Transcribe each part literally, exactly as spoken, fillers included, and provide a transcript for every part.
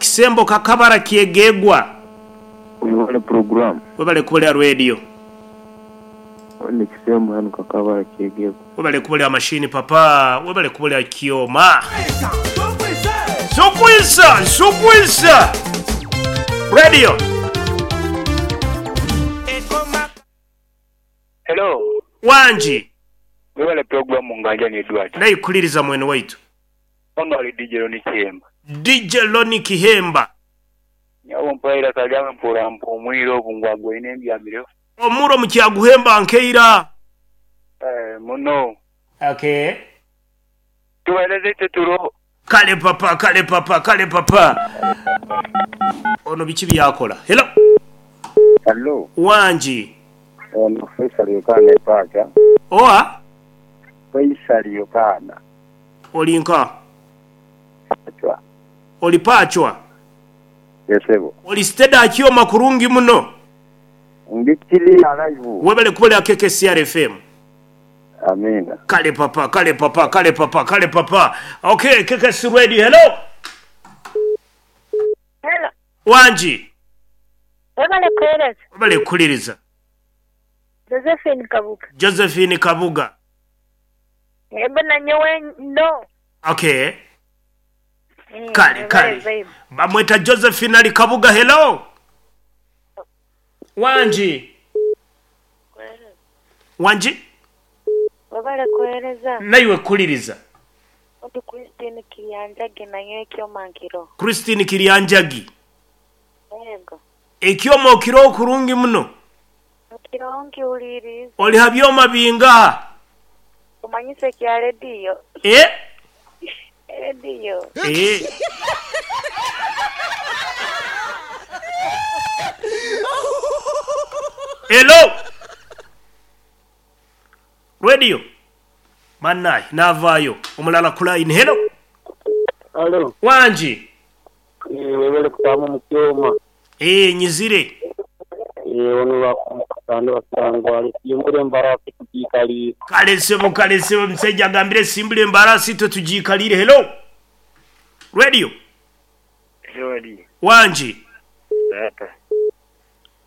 Kisembo kakabara kyegegwa. Webale program. Webale kubolera radio. Ni kisembo hano kakabara kyegegwa. Webale kubolera mashini papa, webale kubolera kioma. Sukwisa, sukwisa. Radio. Hello. Wanji. Webale program nganja ni Edward. Nayikuliriza mwene waitu. Ono ali D J Loni Kihemba. D J Loni Kihemba. Nyawo mpaira kalyanga mpura mpumwiro obungwagwa ine mbyamire. Omuro mukyaguhemba nkeira. Eh muno. Okay. Tuweleze teturo. Kale papa, kale papa, kale papa. Ono biki byakola. Hello. Hello. Wanji. Ono Faisal Yokana epaka. Oa? Faisal Yokana. Olinka. Pachwa. Olipachwa. Yesebo. Olisteda akiyo makurungi muno. Ndikili alive. Webale kubole K K C R F M. Amina. Kale papa, kale papa, kale papa, kale papa. Okay, K K C Radio. Hello. Hello. Wanji. Webale kueleza. Webale kuliriza. Josephine Kabuga. Josephine Kabuga. Ebe na nyewe no. Okay. Mm, kale kale. Bamweta Josephine ali Kabuga. Hello. Wanji. Wanji. Webale kueleza. Naiwe kuliriza. Ndi Christine Kirianjagi na nyewe kyomankiro. Christine Kirianjagi. Yego. Ekyomo kiro kurungi muno. Kirongi uliriza. Oli habyoma binga. Umanyise kya radio. Eh? Radio. Eh. Hello. Radio. Manai navayo omulala kulaini. Hello. Hello. Wanji. Eh webale kutamu mukyoma. Eh nyizire. Eh ono bakumukando basangwa simbule mbarasi tujikalire. Kale sebo kale sebo msajja agambire simbule mbarasi twe tujikalire. Hello. Radio. Hello. Wanji. Tata.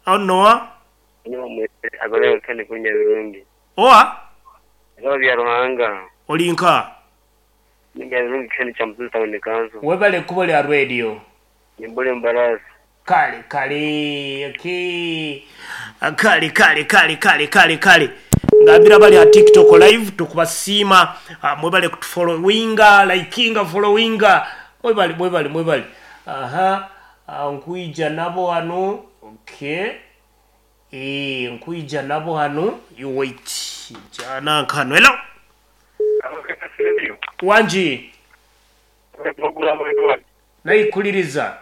Ono. Niwa mwete agole kandi kunya birungi. Oa? Bya Ruhanga. Olinka. Nibya birungi kandi chamtuta unikanzo. Webale kubole radio. Nimbule mbarasi. Kale kale okay. Kale kale kale kale kale kale. Ngambira bali ha TikTok live tukubasima mwebale kutufollowinga, likinga, followinga. Mwebale mwebale mwebale. Aha, nkuija nabo hano. Okay. Eh, nkuija nabo hano. You wait. Jana nkano. Hello. Wanji. Nayikuliriza.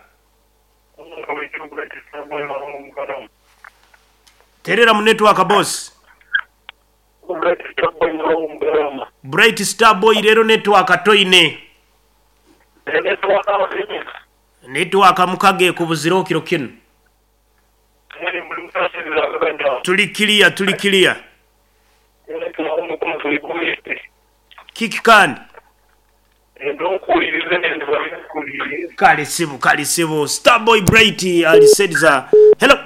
Terera mu network boss. Bright Star Boy rero network toine. Network mukage kubuziro kiro kino. Tuli clear, tuli clear. Kiki kandi. Kale sibu, kale sibu. Starboy Bright alisediza. Hello.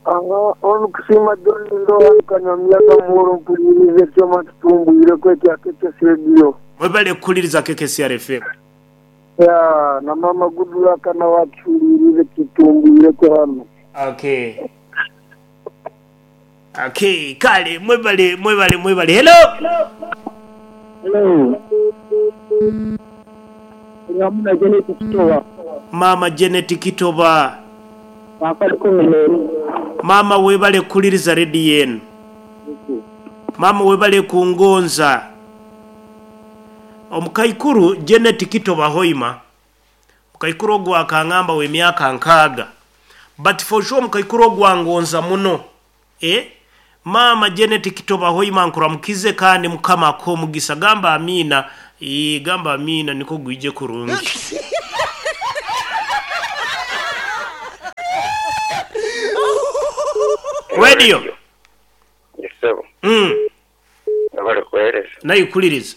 Anga onu kusima doni ndo kanya miaka moro mpulirize kyoma tutumbu ile kwetu ya K K C Radio. Webale kuliriza K K C R F M. Ya na mama Goodluck kana wachulirize kitumbu ile kwa hano. Okay. Okay, kale mwebale mwebale mwebale. Hello. Hello. Mama Janet Kitoba. Mama Janet Kitoba. Mama webale kuliriza radio yenu. Mama webale kungonza. Omukaikuru Janet Kitoba hoima. Mukaikuru ogwa akangamba we myaka nkaga. But for sure mukaikuru ogwa ngonza muno. Eh? Mama Janet Kitoba hoima nkuramukize kandi mukama ko mugisa gamba amina. E gamba amina niko gwije kurungi. Radio. Yes sir. Mm. Nabale kueleza. Nayikuliriza.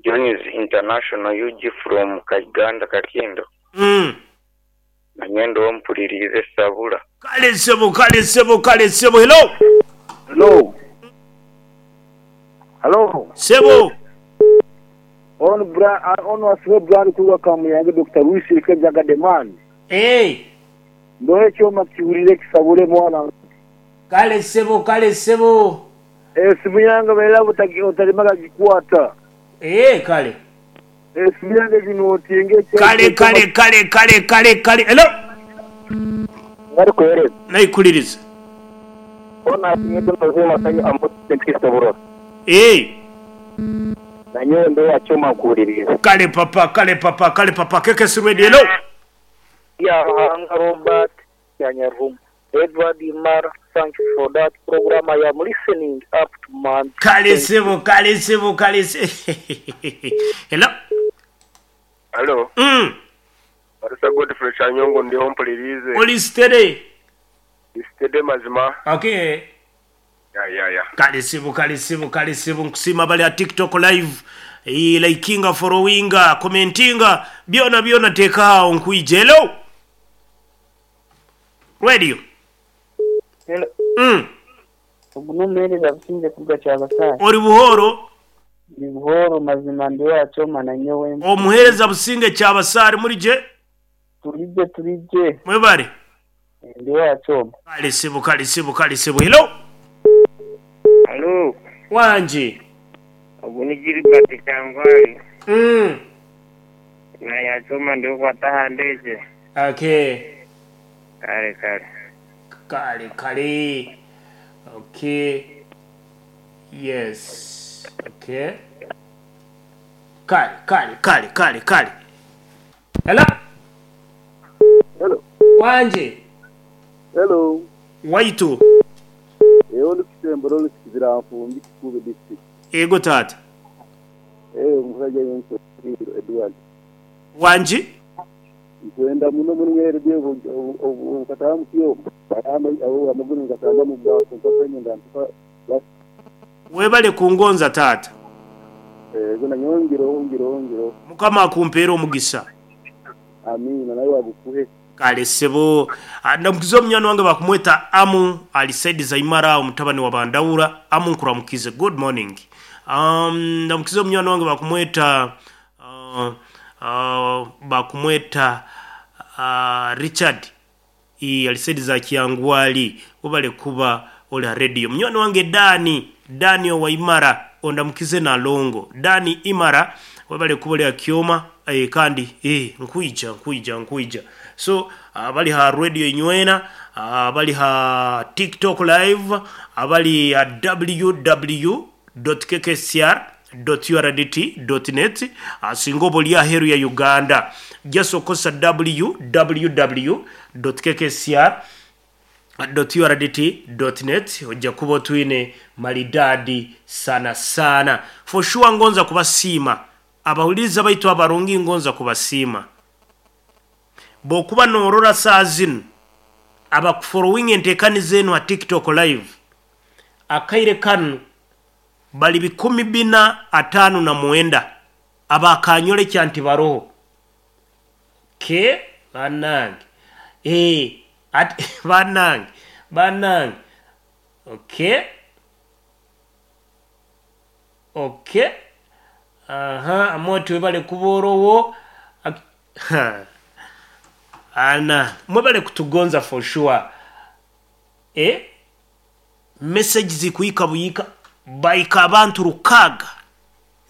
Johnny's International U G from Kaganda Kakindo. Mm. Nyendo mpulirize sabula. Kale sebo, kale sebo, kale sebo. Hello. Hello. Hello. Sebo. On bra on wasiwe brand kuwa kamuyange Doctor Luis Kejaga demand. Eh. Ndohe choma kiwulire kisabule mwana. Kale sebo, kale sebo. Eh, simu yange bela utalimaga gikwata. Eh, kale. Eh, simu yange ginotinge. Kale kale kale kale kale kale. Hello. Ngari kuhereza. Nayikuliriza. Ona asinyedo nozima sanyu ambo Kristo. Eh. Nanyo ndo yachoma kuuliriza. Kale papa, kale papa, kale papa. Keke sirwedi. Hello. Ya Hanga Robert ya Nyarum. Edward Imara, thank you for that program. I am listening up to man. Kale sebo, kale sebo, kale sebo. Hello. Hello. Mm. Barisa Godfrey Chanyongo ndio mpulirize. Oli steady. Steady mazima. Okay. Ya ya ya. Kale sebo, kale sebo, kale sebo. Nkusima bali ya TikTok live. E, likinga, followinga, commentinga. Byona byona teka nkuije. Hello. Radio. Hello. Mm. Ogunomereza businze kuga kyabasai. Ori buhoro. Ni buhoro mazima ndi yachoma na nyowe. Omuhereza businge kyabasari muri je? Turije turije. Mwebare. Ndi yachoma. Kale sebo, kale sebo, kale sebo. Hello. Hello. Wanje. Ogunigiri bati kangwali. Mm. Na yachoma ndi kwataha ndeze. Okay. Kale kale. Kale kale. Okay. Yes. Okay. Kale kale kale kale kale. Hello. Hello. Wanje. Hello. Waitu. Eyo lukisembo lolukizira mfumbi kikube district. Ego tata. Eh, omusajja yenso Edward. Wanje. Nkwenda muno munwere bye obukatamu kiyo. Barama abo amaguru ngatanga mu bwa kumpenya ndantuka. Webale kungonza tata. Eh, gona nyongero ongero ongero. Mukama akumpeera omugisa. Amina nawe wagukuhe. Kale sebo ndamukiza omunywana wange bakumweta Amu alisaidi za Imara omutabani wa Bandawura. Amu nkuramukize, good morning. Um ndamukiza omunywana wange bakumweta uh, uh, bakumweta uh, Richard i alisaidi za Kiangwali ubale kuba ola radio. Munywana wange Dani Dani wa Imara ondamukize na Longo Dani Imara wabale kuba ya Kioma eh, kandi eh nkuija nkuija nkuija. So abali ha radio inywena, abali ha TikTok live, abali ha w w w dot k k c r dot u r d t dot net asingobo lya heru ya Uganda. Just okosa w w w dot k k c r dot u r d t dot net ojja kuba twine maridadi sana sana. For sure ngonza kubasiima abawuliza baitu abarungi ngonza kubasiima bokuba norora saa zino abakufollowing entekani zenu ha TikTok live akaire kanu bali bikumi bina atano na muenda abakanyole kyanti baroho ke banange eh at banange banange okay okay aha amoto bale kuborowo ana mwebale kutugonza for sure eh message zikuyika buyika baika abantu rukaga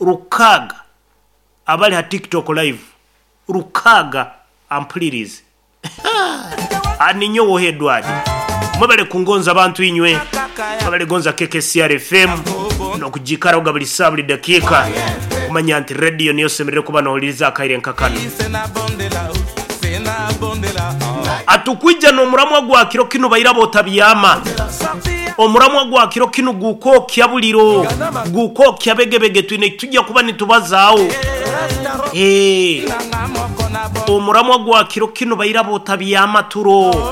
rukaga abali ha TikTok live rukaga ampulirize aninyo wohedwadi mwebale kungonza abantu inywe mwebale gonza K K C R F M nokujikara buli saa buli dakika kumanya nti radio niyo semerere kuba nohuliriza akaire nkakano atukwija n'omuramwa gwa kiro kino bairabo otabyama omuramwa gwa kiro kino gukokya buliro gukokya begebege twine tujja kuba nitubazaawo eh omuramwa gwa kiro kino bairabo otabyama turo.